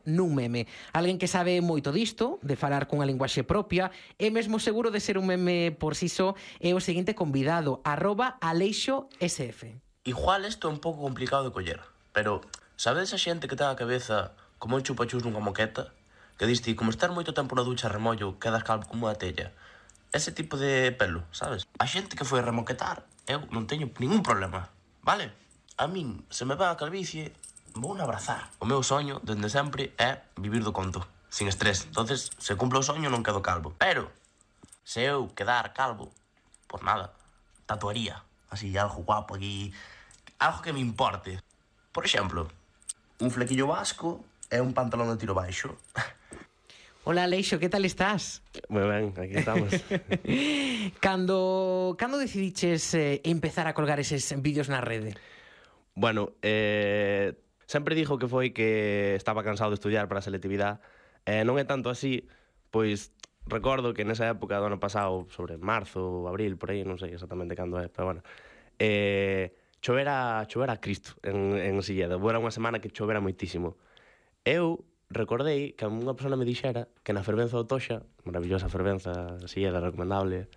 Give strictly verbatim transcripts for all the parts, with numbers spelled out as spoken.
nun meme. Alguén que sabe moito disto, de falar cunha linguaxe propia, e mesmo seguro de ser un meme por si só, é o seguinte convidado, arroba Aleixo S F. Igual isto é un pouco complicado de coller, pero sabedes a xente que ten a cabeza como un chupachus nunha moqueta? Que diste, como estar moito tempo na ducha a remollo, quedas calvo como unha tella. Ese tipo de pelo, sabes? A xente que foi a remoquetar, eu non teño ningún problema, vale? A min, se me va a calvicie, vou a abrazar. O meu soño, dende sempre, é vivir do conto, sin estrés. Entonces, se cumplo o soño, non quedo calvo. Pero, se eu quedar calvo, por nada, tatuaría. Así, algo guapo aquí, algo que me importe. Por exemplo, un flequillo vasco e un pantalón de tiro baixo. Hola, Aleixo, que tal estás? Moi ben, aquí estamos. Cando, cando decidiches eh, empezar a colgar eses vídeos na rede? Bueno, eh, sempre dixo que foi que estaba cansado de estudiar para a selectividade. Eh, non é tanto así, pois recordo que nesa época do ano pasado, sobre marzo, abril, por aí, non sei exactamente cando é, pero bueno, eh, chovera, chovera a Cristo en, en Silleda. Era unha semana que chovera moitísimo. Eu recordei que unha persona me dixera que na fervenza do Toxa, maravillosa fervenza, Silleda, recomendable,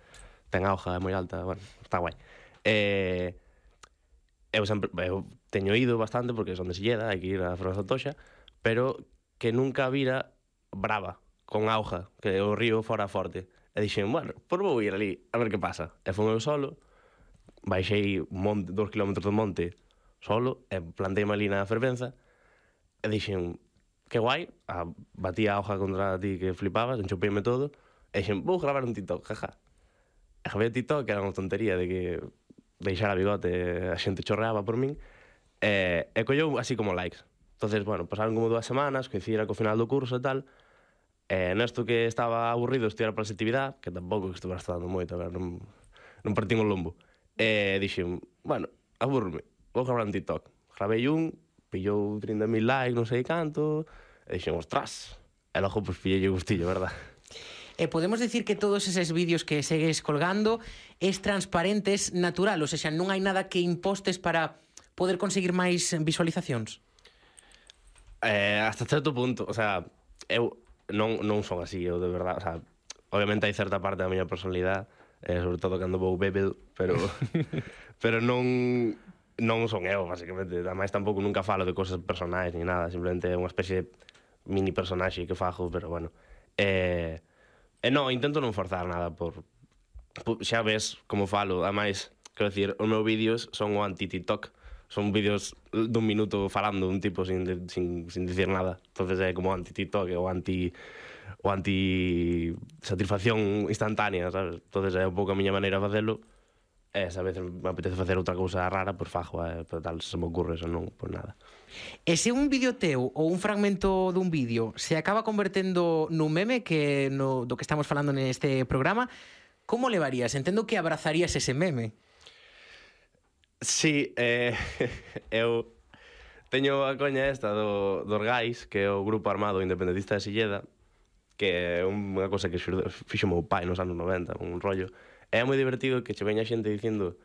ten auga, é moi alta, bueno, está guai. Eh, eu sempre eu teño ido bastante porque son de Silleda, hai que ir á fervenza do Toxa, pero que nunca vira brava, con auga, que o río fora forte. E dixen, bueno, por vou ir ali a ver que pasa. E fui eu solo, baixei un monte, dos kilómetros do monte solo, e planteime ali na fervenza, e dixen, que guai, a, batí a hoja contra ti que flipabas, enchopeime todo, e dixen, vou gravar un TikTok, jaja. E gravei o TikTok, que era unha tontería de que deixara bigote, a xente chorreaba por min, e, e colleu así como likes. Entonces, bueno, pasaron como dúas semanas, coincida co final do curso e tal, e nesto que estaba aburrido estudiar para a selectividade, que tampouco que estuvera estudando moito, a ver, non, non partín o lombo, e dixen, bueno, aburrome, vou gravar un TikTok. Gravei un, pillou trinta mil likes, non sei canto, e dixen, ostras, e logo pues pillei o gustillo, verdad? E podemos decir que todos eses vídeos que segues colgando es transparente, es natural, ou seja, non hai nada que impostes para poder conseguir máis visualizacións? Eh, hasta certo punto, o sea, eu non, non son así, eu de verdad, o sea, obviamente hai certa parte da miña personalidade, eh, sobre todo cando vou bebel, pero pero non non son eu, basicamente. Ademais, tampouco nunca falo de cosas personais ni nada, simplemente é unha especie de mini personaxe que fajo, pero bueno. Eh, e non, intento non forzar nada por, por xa ves como falo, ademais, quero dicir, os meus vídeos son o anti-TikTok. Son vídeos dun minuto falando un tipo sin, sin, sin dicir nada. Entonces é como anti-TikTok o anti o anti-satisfacción instantánea, sabes? Entonces é un pouco a miña maneira de facelo. E se a veces me apetece facer outra cousa rara, pois fajo, eh, pero tal, se me ocurre, eso non, pois nada. E se un vídeo teu ou un fragmento dun vídeo se acaba convertendo nun meme, que no, do que estamos falando neste programa, como levarías? Entendo que abrazarías ese meme. Sí, eh, eu teño a coña esta do, dos Gais, que é o grupo armado independentista de Silleda, que é unha cosa que fixo meu pai nos anos noventa, un rollo. É moi divertido que che veña xente dicindo,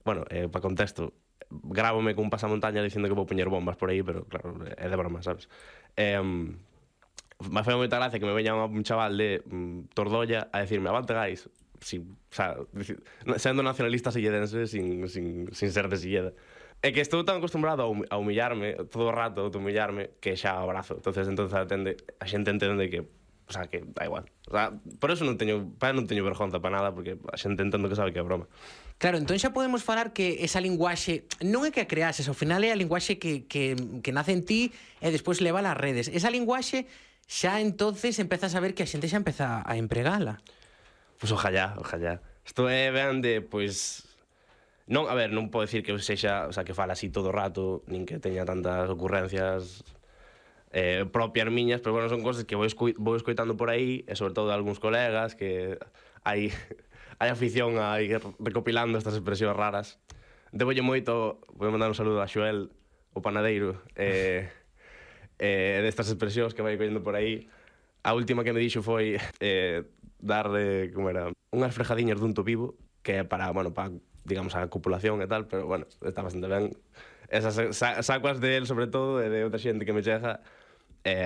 bueno, eh, para contexto, grábome con un pasamontaña dicindo que vou poñer bombas por aí, pero claro, é de broma, sabes? Eh, me foi moita gracia que me veña un chaval de um, Tordolla a decirme, avante Gais, sin, o sea, sendo nacionalista silledense sin, sin, sin ser de Silleda. É que estou tan acostumbrado a humillarme todo o rato, a humillarme, que xa abrazo. Entonces, entonces atende, a xente entende que, o sea, que da igual. O sea, por eso non teño, para non teño vergonza para nada, porque a xente entendo que sabe que é broma. Claro, entón xa podemos falar que esa linguaxe non é que a creases, ao final é a linguaxe que, que, que nace en ti e despois leva ás redes. Esa linguaxe xa entonces empezas a ver que a xente xa empeza a empregala. Pois pues ojalá, ojalá. Isto é ben de, pois... Non, a ver, non podo decir que sexa, o sea, que fala así todo o rato, nin que teña tantas ocurrencias eh, propias miñas, pero bueno, son cosas que vou, escu vou escoitando por aí, e sobre todo de algúns colegas, que hai, hai afición a ir recopilando estas expresións raras. Debolle moito, vou mandar un saludo a Xoel, o panadeiro, eh, eh, destas expresións que vai collendo por aí. A última que me dixo foi eh, darle, como era, unhas frejadiñas dun to vivo, que é para, bueno, para, digamos, a copulación e tal, pero, bueno, está bastante ben. Esas sa sacuas de él, sobre todo, e de outra xente que me chega, eh,